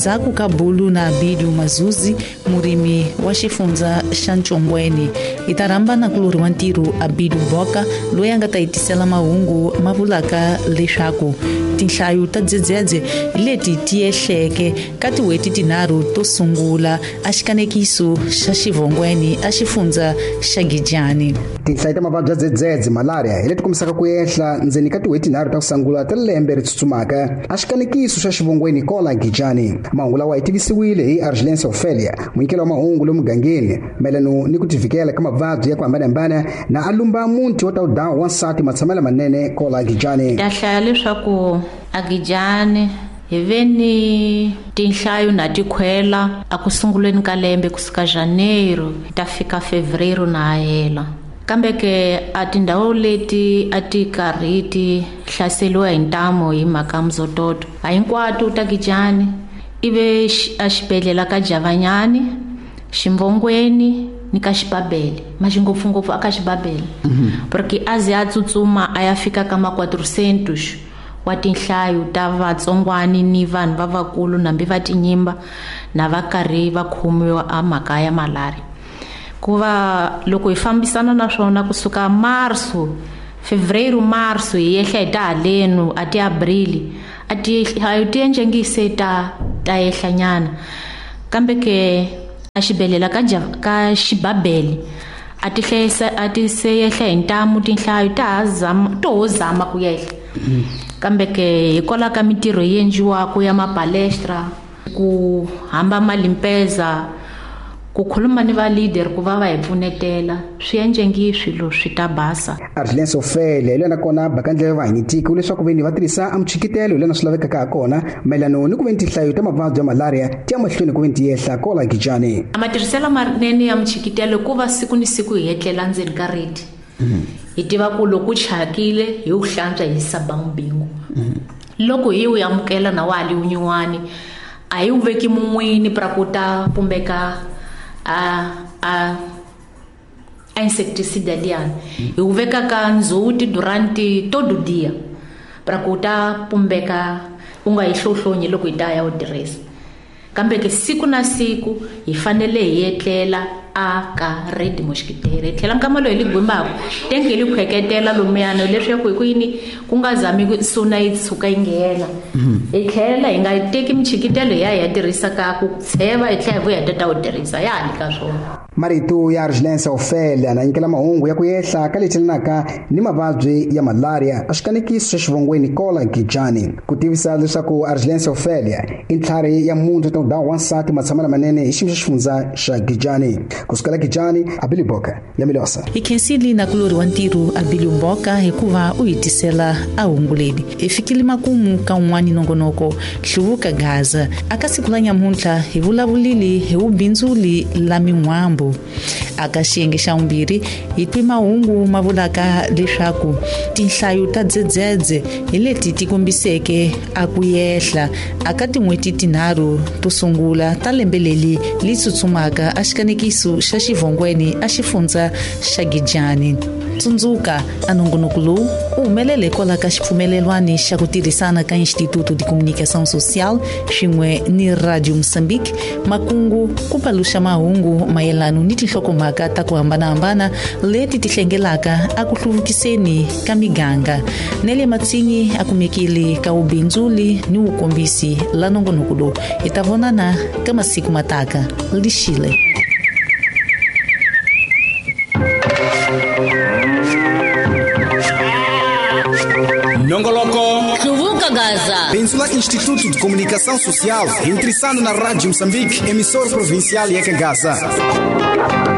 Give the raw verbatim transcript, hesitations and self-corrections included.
Endzhaku ka bulu na Abidu Mazuzi, murimi wa xifundza xa Ntshongweni. Hi ta rhamba nakulorhi wa ntirho Abidu Boka, loyi a nga ta hi tisela mahungu ma vulaka leswaku tinhlayo ta dzedzedze leti ti ehleke ka tin'hweti tinharhu to sungula a xikanekiso xa xivongweni a xifundza xa Gijani. Tinhlayo ta mavabyi ya dzedzedze malaria hi leti kombisaka ku ehla ndzeni ka tin'hweti tinharhu ta ku sungula ta lembe ri tsutsumaka a xikanekiso xa xivongweni kola Gijani. Mahungu lawa hi tivisiwile hi Argelence Ophelia, munyikeli wa mahungu lomu mugangeni mayelana ni ku tivikela ka mavabyi ya ku hambanahambana na alumba munti wa tawudawu wansati matshamelo manene kola Gijani. Ta hlaya leswaku a Gijani hi ve ni tinhlayo na tikhwela a ku sunguleni ka lembe kusuka Janeiro ta fika Fevereiro na hela. Kambe ke a tindhawu leti a ti karhi ti hlaseriwa hi ntamu hi mhaka mzototo a hinkwato ta Gijani ive a xibedhlele ka Javanyani, Ximvongweni ni ka Xibabele, maxingopfungopfu aka Xibabele. Porque a ze a tsutsuma a ya fika ka ma quatrocentos wa tinhlayo ta vatsongwani ni vanhu va vakulu nambi va tinyimba na va karhi va khomiwa a mhaka ya malaria. Ku va loko hi fambisana na swona kusuka marso, fevereiro, marso hi ehla hi ta halenu a ti abrili a ti hayo ti enjengise ta ta ehlanyana. Kambe ke a xibedhlele ka ka Xibabele a ti hlayisa a ti se ehla hi ntamu tinhlayo ta zama to zama ku yehla. Kambe ke hikwalaho ka mintirho yi endliwaka ya mapalestra ku hamba malimpeza ku khuluma ni va leader ku va va hi pfunetela swi endlengi swilo swi ta basa. Argelence Ophelia hi lona kona bakandlela va hi tiko leswaku veni va tirhisa amchikitelo lena swi lavekaka ha kona mayelana ni ku veni tinhlayo ta mavabyi ya malaria ti ya mahlweni ku veni ti ehla kola Gijani. Matirhiselo manene ya mchikitelo ku va siku ni siku hi etlela ndzeni ka redi. Hi tiva ku loko chakile hi wu hlantswa hi saba mbingu. Loko hi wu amukela na wali unyiwani a hi wu veki mun'wini pra ku ta pumbeka a a insecticide liyani. Hi wu veka ka ndzhuti durante todo dia pra ku ta pumbeka u nga yi hlohlonyi loko hi ta ya wu tirhisa. Kambe ke siku na siku hi fanele hi etlela a ka red mosquitero. Hi tlhela nkama loyi hi li gwimbaka tenke hi li khweketela lomuyana leswaku hi ku yini ku nga zami ku suna yi tshuka yi nghena. Hi tlhela hi nga teki michikitelo ya hi ya tirhisa ka ku tsheva hi tlhela hi vuya hi ta ta wu tirhisa ya ha li ka swona. Marito ya Argelence Ophelia na nyikela mahungu ya ku ehla ka leti ni mavabyi ya malaria a xikanekiso xa xivongweni kola Gijani. Ku tivisa leswaku Argelence Ophelia i ntlhari ya munhu ta dawu wansati matshamelo manene hi xiyimo xa xifundza xa Gijani. Kusukela Gijani, Abili Boka ya Milosa. Hi khensile nakulorhi wa ntirho Abili Boka hikuva u hi tisela a hungu leri. Hi fikile makumu ka un'wani nongonoko Hluvuka Gaza. Aka siku la nyamuntlha hi vulavulile hi vubindzuli la min'wambu. Aka xiyenge xa vumbirhi hi twi mahungu ma vulaka leswaku tinhlayo ta dzedzedze hi leti ti kombiseke a ku yehla aka tin'hweti tinharhu to sungula ta lembe leri li tsutsumaka a xikanekiso xa xivongweni a xifundza xa Gijani. Tsundzuka a nongonoko lowu u humelele hikwalaho ka xipfumelelwani xa ku tirhisana ka Instituto de Comunicação Social swin'we ni Radio Moçambique, makungu ku paluxa mahungu mayelana ni tinhlokomhaka ta ku hambanahambana leti ti hlengelaka a ku hluvukiseni ka miganga. Nele Matsinyi a kumekile ka vubindzuli ni wukombisi la nongonoko lowu. Hi ta vonana ka masiku mataka. Lixile. Nongoloko Hluvuka Gaza. Bindzu la Instituto de Comunicação Social, intrissando na Rádio Moçambique, emissora provincial ya Gaza.